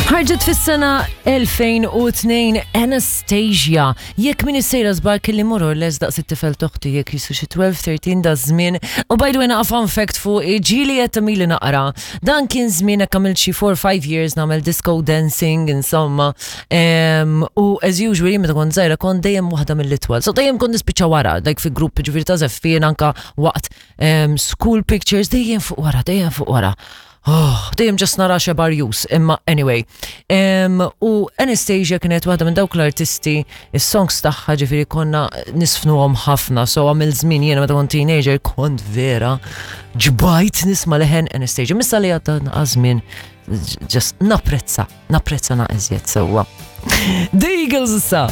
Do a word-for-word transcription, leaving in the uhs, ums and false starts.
Ħarġet fis-sena elfejn u tnejn, Anastasia. Jekk min sejra żbar kelli more or less daqs it-tifel t'oħti, jekk jisu xi tnax tlettax da żmien. U by the way, naqa fun fact fuq ġili qed tamili naqra. Dan kien żmien hekk għamilt xi four five years nagħmel disco dancing, insomma. Em, U as usual, meta kont żgħira kont dejjem waħda mill-itwal. So dejjem kont nispiċċa wara, like fi grupp, ġifieri ta' żeffien, anka waqt em, school pictures, dejjem fuq wara, dejjem fuq wara. Oh, dejjem just nara xebar jus, imma anyway. Um, u Anastasia kienet waħda minn dawk l-artisti, is-songs tagħha ġifieri konna nisfnuhom ħafna, so għamil żmien jiena meta kont teenager kont vera ġbajt nisma' leħen Anastasia. Missa li għadda żmien, just napprezza, napprezza naqra iżjed sewwa. The Eagles issa.